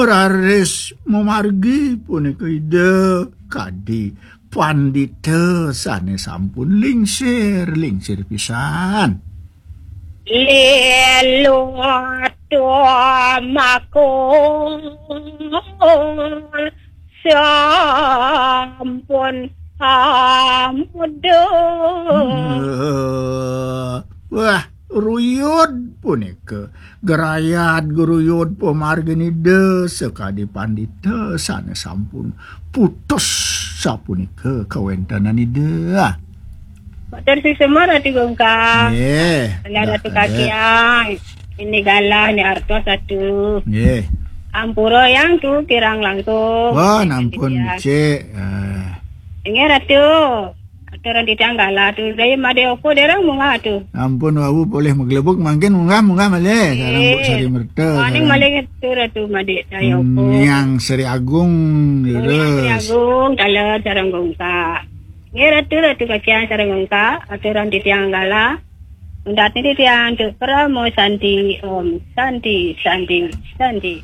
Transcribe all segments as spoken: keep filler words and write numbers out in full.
Raris mamargi punika Ida kadi pandita sane sampun lingsir, lingsir pisan. Lelo tumakul sampun amudut. Eh, wah, ruyud punika. Gerayat geruyud pamargin Ida sakadi pandita sane sampun putus sapunika kawentenan Ida. Matur suksma Ratu Gungkak. Nggih. Nggih, Ratu Kakiang. Ini galah, ini artos Ratu. Nggih. Ampura yang tu kirang langkung. Wah, nampun, Cik. Eh. Inggih, Ratu. Aturan titiang galah tu. Saya made oko dereng munggah tu. Ampun, wau polih maglebuk mangkin munggah, munggah malih. Sareng Bu Sari Merta. Paning malih tu Ratu made saya oko. Yang Sri Agung, Yang Sri Agung, taler sareng Gungkak. Nggih, Ratu, Ratu Kakiang sareng Gungkak, aturan titiang galah. Undat niki titiang antuk Parama Santi, Om Santi, Santi, Santi.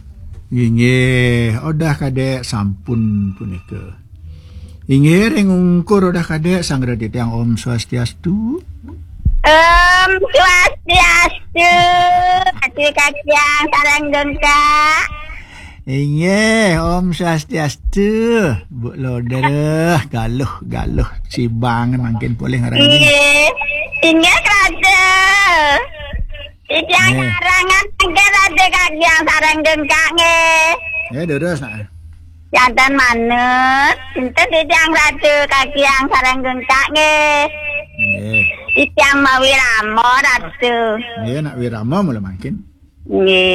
Inggih, Odah Kadek sampun punika. Inggih, ring ungkur Odah Kadek, sanggra titiang Om Swastiastu. Om Swastiastu, Ratu Kakiang sareng Gungkak. Inggih, Om Swastiastu. Bu Loder, galuh, galuh. Sibangan mangkin polih ngaran. Inggih. Inggih, Ratu. Titiang nggih. Ngarangan mangkin Ratu Kakiang sareng Gungkak nggih. Nggih, durus, nak. Janten manut, enten titiang Ratu Kakiang sareng Gungkak nggih. Nggih. Titiang mawirama, Ratu. Nggih, nak wirama mula mangkin. Nggih.